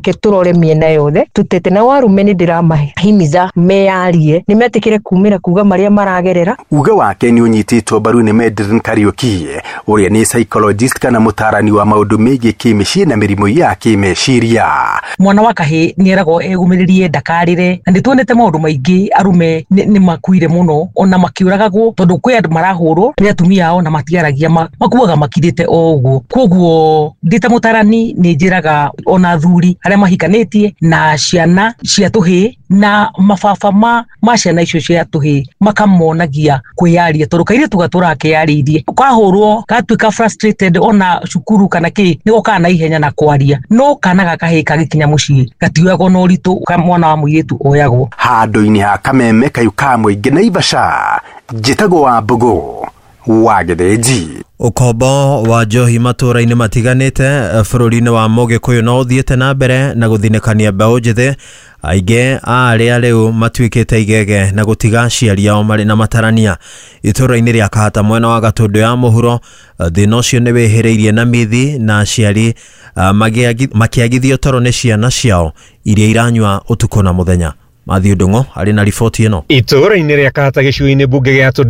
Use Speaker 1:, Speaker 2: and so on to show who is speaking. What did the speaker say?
Speaker 1: Reke tũrore mĩena yothe tũtete na warume nĩ ndĩramahimiza meyarie, nĩ metĩkĩre kumĩra kuga marĩa maragerera.
Speaker 2: Uge wake nĩ ũnyitĩtwo mbaru nĩ Medrin Kariuki, ũrĩa nĩ psychologist kana mũtaarani wa maũndũ megiĩ kĩmĩciĩ na mĩrimũ ya kĩmeciria.
Speaker 3: Mwana wa kahĩ nĩ eragwo egũmĩrĩrie ndakarĩre, na nĩ tuonete maũndũ maingĩ arume nĩ makuire mũno ona makĩũragagwo tondũ kwĩ andũ marahũrwo nĩ atumia ao na matiaragia, makuaga makirĩte o ũguo. Koguo ndĩ ta mũtarani nĩ njĩraga ona athuri arĩa mahikanĩtie na ciana cia tũhĩĩ na mababa ma ciana icio cia tũhĩĩ makamonagia kwĩyaria, tondũ kairĩtu gatũraga keyarĩirie, kahũrwo gatuĩka frustrated ona cukuru kana kĩ nĩ gokaga na ihenya na kwaria, no kana ga kahĩĩ kagĩkinya mũciĩ gatioyagwo na ũritũ mwana wa mũirĩtu oyagwo.
Speaker 2: Handũ-inĩ ha kameme kayu ka mũingĩ Naivasha, njĩtagwo wa Mbũgũ wa Gĩthĩnji.
Speaker 4: Ũkombo wa njohi matũũra-inĩ matiganĩte bũrũri-inĩ wa Mũgĩkũyũ no ũthiĩte na mbere na gũthinĩkania mbeũ njĩthĩ, aingĩ a arĩa rĩu matuĩkĩte igege na gũtiga aciari ao marĩ na matarania. Itũũra-inĩ rĩa Kahata mwena wa Gatũndũ ya mũhuro, thĩna ũcio nĩ wĩhĩrĩirie na mithi na aciari makĩagithio toro nĩ ciana ciao iria iranyua ũtukũ na mũthenya. Matthew Ndung'u arĩ na riboti ĩno.
Speaker 5: Itũũra-inĩ rĩa Kahata gĩcigo-inĩ mbunge gĩa Tũndũ ya